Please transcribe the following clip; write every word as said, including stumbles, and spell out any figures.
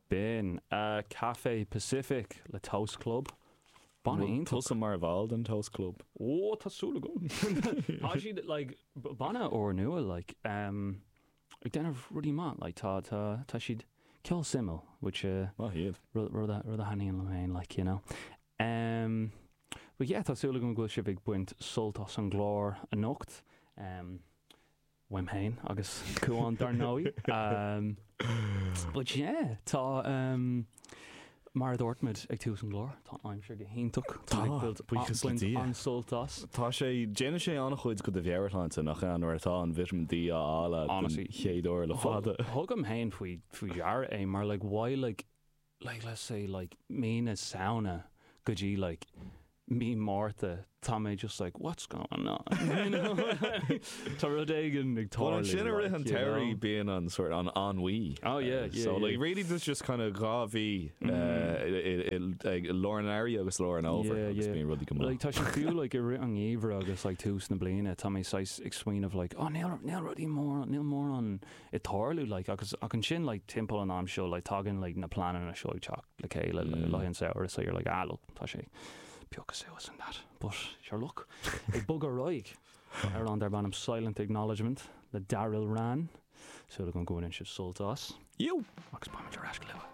B'in uh, Cafe Pacific le Toast Club. Banna iontach. Tusa mar bhall den Toast Club. Ó tá súil agam. Tá siad like b- banna úrnua like um, ag déanamh rudaí maith like tá tá tá siad ceol suimiúil which uh, Maith iad. rud rud a rud a thaitníonn liom féin like you know. Um, but yeah, tá súil agam go bhfuil sibh ag baint sult as an gclár anocht. Um, uaim féin agus Cuán dar ndóigh. Um, but yeah, tá um, mar a dúirt muid ag tús an gclár, tá an aimsir go hiontach. Tá, ag baint- buíochas le baint Dia. an-sult as. Tá sé déanann sé an-chuid do do mheabhairshláinte nach ea nuair atá an vitamin D á fháil den Honestly. chéad uair le fada. Thugaim féin faoi faoi deara é mar like why like like let's say like mí na Samhna go dtí like mí Márta tá mé just like what's going on you know Tá rud éigin ag Well, tarlú an sin a rith an like, you terry know? being an sort an ennui. Oh, yeah, yeah, So yeah. like really there's just kind of dhá mhí ag lár an earraigh agus lár an fhómhair Yeah, agus yeah. bíonn rudaí go maith. Like tá sé fiú like i rith an gheimhridh agus like tús na bliana tá mé saghas ag smaoineamh like oh níl níl rudaí mór níl mórán ag tarlú like agus ach ansin like timpeall an am seo like tagann like na pleananna seo ag teacht le chéile mm. le an samhradh so you're like ah look tá sé piocadh suas and that but sure look ag bogadh ar aghaidh ar an darb ainm Silent Acknowledgement le Daryl Ran súil agam go mbaineann sibh sult as You! agus beimid ar ais go luath.